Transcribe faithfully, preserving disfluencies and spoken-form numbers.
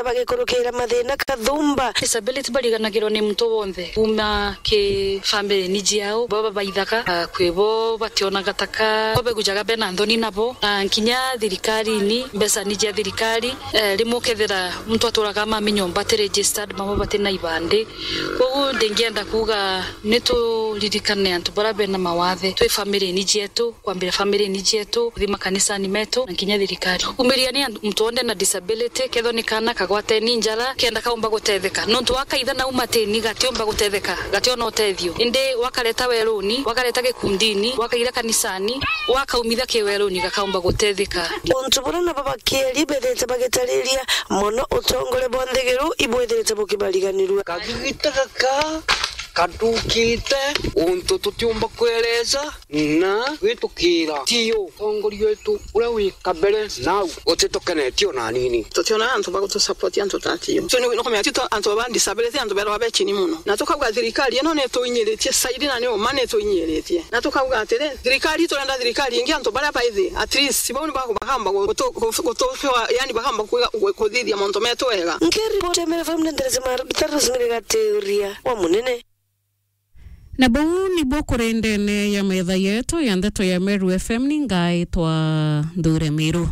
bagikurukira mathina kathumba. Disability bariganagirwa ni muntu wonthe, kuma ki family ni jiao, baba baithaga, ah, kwi bo bationaga taka, bo begujaga bena nthoni nabo, na nkinya thirikarini, mbeca ni jia thirikari, eh, rimwe ukethira muntu aturaga mami nyomba ati registered, mama bati na ibandi. Koguo ndingienda kuuga ni turirikane antu baria bena mawathe, twi family ni jietu, kwambira family ni jietu, kuthi makanisani metu, na nkinya thirikari. Umiria ni antu, muntu wonthe na disability, kethwa ni kana kagwateni njara, kenda kaumba gutetheka. Nontu wakaitha na umatini, gatiumba gutetheka, gationa utethio. Indi wakareta weruni, wakareta gikundini, wakaira kanisani, wakaumitha kiweruni, gakaumba gutetheka. Untu buria nabo bakieri bethirite bagitariria mono, utongore bwa nthiguru ibwithirite bukibariganirua. Kagigita gaka kathukite untu tutiumba kwereza na gwitukira. Tio utongoria wetu uria wi kabere nau utitukenetie ona anini. Tutiona antu ba gutusupport antu ta tio. So ni, ni kumenya tito antu ba disability, antu berwa be chini muno. Na tukauga thirikari ino ni tuinyiritie saidi na ni uma ni tuinyiritie. Na tukauga atiri, thirikari, turenda thirikari ingi, antu baria baithi, at least, bau ni baku-, bakamba gu-, gutu-, gu-, gutu-, yani, bakamba kwiga-, gu-, kuthithia mauntu metu wega. Nkiripoti ya Meru F M ni Nderesi Maru, Gitaru Rosemary Gatiuria wa Munene. Na buu nibuo kuri ndene ya metha yetu ya ndeto ya Meru F M, ni ngaitwa Nthure Miru.